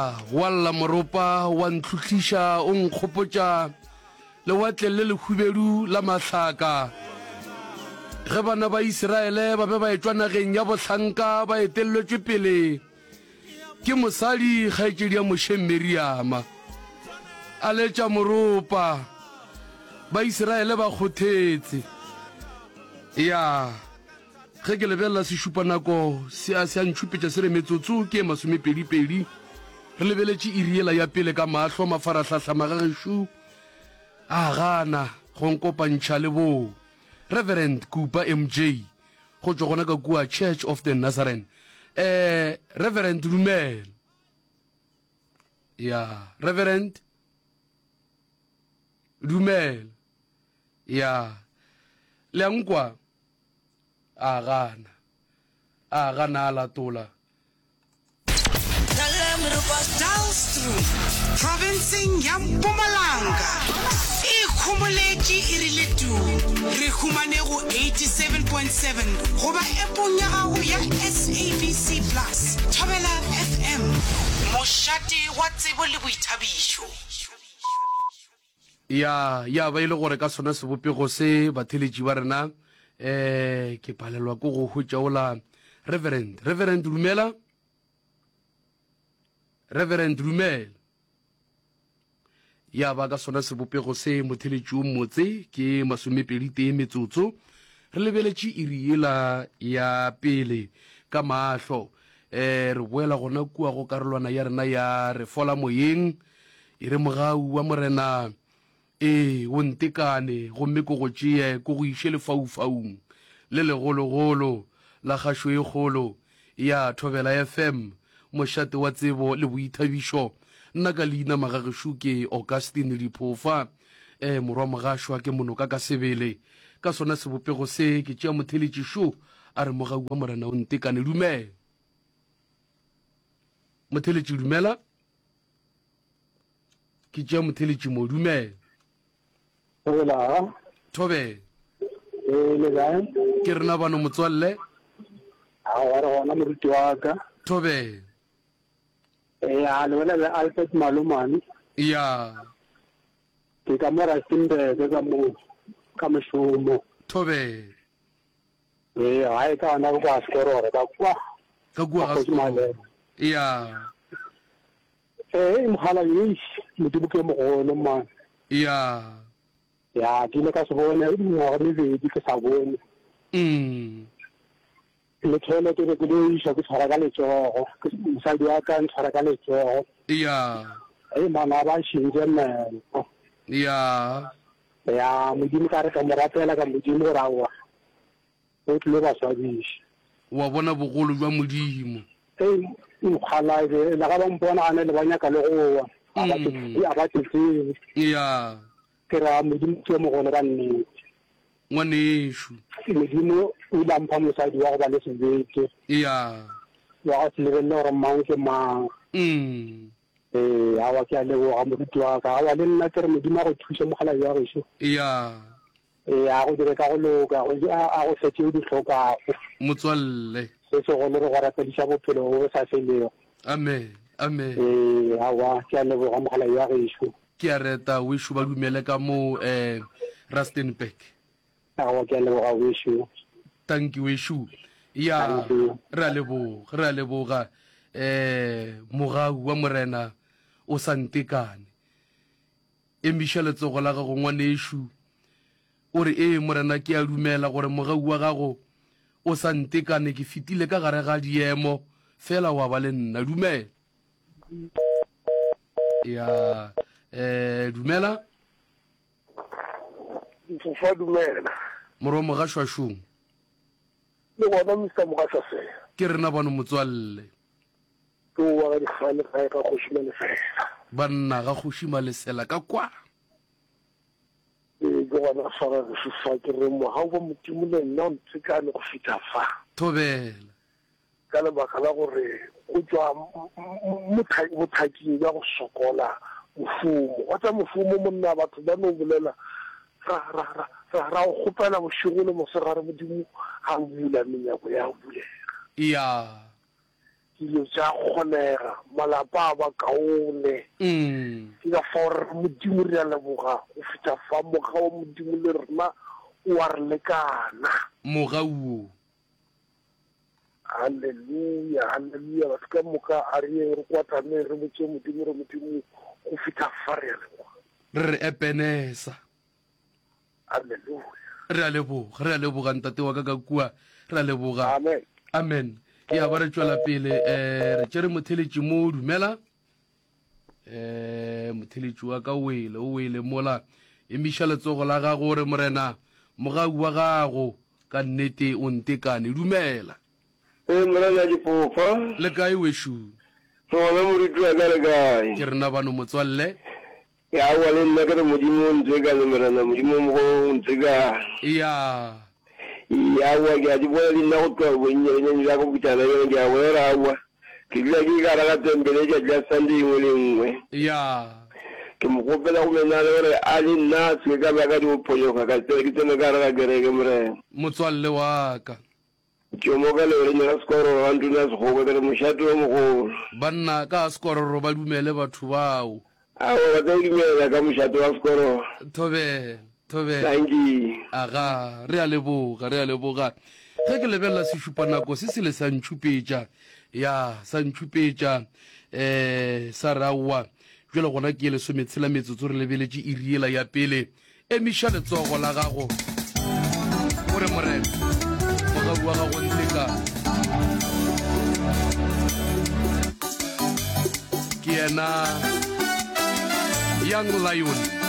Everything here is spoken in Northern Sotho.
Ya, wa lla moropa, wa ntlhuhliša, o nkgopotša Lewatle le Lehubedu la mahlaka. Ge bana ba Isiraele ba be ba etšwa nageng ya bohlanka ba etelletšwe pele ke mosadi kgaetšedi ya Moshe Miriama, a letša moropa, ba Isiraele ba kgothetse. Ya. Ge ke lebelela sešupanako se a se a ntšhupetša se re metsotso ke e masomepedipedi. Re lebeletše iri yela ya pele ka mahlo, mafarahlahla magagešo a gana go nkopantšha le bo Reverend Kupa MJ go tšwa gona ka kua Church of the Nazarene. Eh, Reverend dumela. Ya, Reverend dumela. Ya, le a nkwa? A gana. A gana a latola. Dullstroom, profenseng ya Mpumalanga, e ikhomoletše e rile tuu. Re humane go 87.7 goba epong ya gago ya SABC Plus. Thobela FM, mošate wa tsebo le boithabišo. Ya, ya ba e le gore ka sona sebopego se, batheeletši ba rena, eh, ke palelwa ke go hwetša ola Reverend. Reverend, dumela. Reverend, dumela. Ya ba ka sona sebopego se, motheeletši o mmotse, ke masomepedi tee metsotso. Re lebeletše iri yela ya pele ka mahlo. Eh, re boela gona kua go karolwana ya rena ya re fola moyeng. E re, Mogau wa Morena, ee, o ntekane, gomme ke go tšee ke go iše lefaufaung le legologolo la kgašo e kgolo ya Thobela FM, mošate wa tsebo le boithabišo. Nna ka leina magagešo ke Augustine Diphofa, ee, morwa Mogašwa ke monoka ka sebele. Ka sona sebopego se ke tšea motheletši šo, a re, Mogau wa Morena o ntekane. Dumela. Motheletši, dumela. Ke tšea motheletši mo. Dumela. Thobela. Thobela. Ee, le kae? Ke rena bano motswalle. Aowa, re gona moruti wa ka. Thobela. Ee, a le bolela le Alfred Malomane. Ya. Ke ka mo Rustenburg ka mo ka mošomo. Thobela. Ee, gae ka gona kwa Sekororo ka kwa. Ka kua ga Sekororo. Ya. Ee, mokgalabje, eish, Modimo ke yo mogolo, man. Ya. Ya, ke ile ka se bone mengwaga mebedi ke sa bone. Mm. Le tšhelete be ke lo iša ke tshwara ka letsogo, mosadi wa ka ntshwara ka letsogo. Ya. Ei, man, a ba šintše meno. Ya. Ya, Modimo ka re ka mo rapela ka Modimo gore aowa. O tlilo ba swabiša. Wa bona bogolo bja Modimo. Hei, mokgalabje, le ga ba mpona gane le ba nyaka le go wa. Ga ba ke, ga ba ke tsebe. Ya. Ke ra Modimo ke yo mogolo ka nnete. Ngwanešu. Modimo o ile a mpha mosadi wa go ba le sebete. Ya. Wa go se lebelele gore mang ke mang. Ee, aowa ke a leboga moruti wa ka. Aowa le nna ke re Modimo a go thuše mokgalabje wa gešo. Ya. Ee, a go dire ka go loka, go, a, a go fe tše o di hlokago. Motswalle. Se segolo re go rapediša bophelo bo bo sa felego. Amen. Amen. Ee, aowa, ke a leboga mogala wa gešo. Ke a reta wešo ba dumele ka mo eh, Rustenburg. Aowa, ke a leboga wešo. Tanki wešo. Ya, re a leboga, re a leboga. Eh, mogau wa Morena o sa ntekane. Emiša letsogo la gago, ngwanešu, o re, Ee, Morena, ke a dumela gore mogau wa Gago o sa ntekane. Ke fetile ka gare ga diemo, feela Wa ba le nna. Dumela. Ya, eh, dumela. Mfofa, dumela. Morwa Mogašwašong. Le gona, Mister Mogašwasela. Ke rena bano, motswalle. Ke o wa ga Dikgale gae ga Kgoši Malesela. Banna ga Kgoši Malesela ka kwa. Ee, ke gona fa ga gešo fa ke re mogau wa Modimo le nna o ntekane go fihla fa. Thobela. Ka lebaka la gore o tšwa bothaking bja go sokola mošomo. Wa tša mošomo monna batho ba no bolela ra, ra, ra, ra, ra go kgopela bošego le mosegare Modimo a bula menyako ya bulega. Ya. Dilo tša kgonega, malapa a ba kaone. Ke ka fao re re, Modimo, re a leboga go fihla fa. Mogau wa Modimo le rena o a re lekana. Mogau wo. Haleluya, haleluya. Batho ka moka a re yeng re kwatameng, re botše Modimo re, Modimo, go fihla fa re a leboga. Re re, Epenesa. Haleluya. Re a leboga, re a leboga ntate wa ka ka kua. Re a leboga. Amen. Amen. Ya ba re tšwela pele eh re tšere motheletši mo dumela. Eh motheletši wa ka o wele, o wele mola. Emiša letsogo la gago o re Morena, mogau wa gago ka nnete o ntekane. Dumela. Ee, Morena Dipofa. Le kae wešu? Re gona moruti wa ka le kae? Ke rena bano motswalle. Ya aowa le nna ke re Modimo o ntekane Morena Modimo o mogolo o ntekane. Ya. Ya aowa ke a di bona le nna go tloga bonnyanenyane bja ka go fihla gona bjale ke a bona gore aowa ke dula ke ka gare ga tempele letšatši la Sunday e nngwe le e nngwe. Ya. Ke mo kgopela go menagane gore a le nna a se ke ka ba ka dio phonyokga ka tsena ke tsene ka gare ga kereke Morena. Motswalle wa ka. Ke mo ka leoreng la Sekororo ga Ntona Sekgoka, ke re mošate o mogolo. Banna ka Sekororo ba dumele batho bao. Aowa ba tla o dumela ka mošate wa Sekororo. Thobela, thobela. Dankie. Aga, re a leboga, re a leboga. Ge ke lebelela sešupanako se sele sa ntšhupetša, ya, sa ntšhupetša, eh, sa re aowa, bjale gona ke ye lesometshela metsotso re lebeletše iri yela ya pele. Emiša letsogo la gago o re, Morena, mogau wa gago ntekane. Ke yena Young Lion.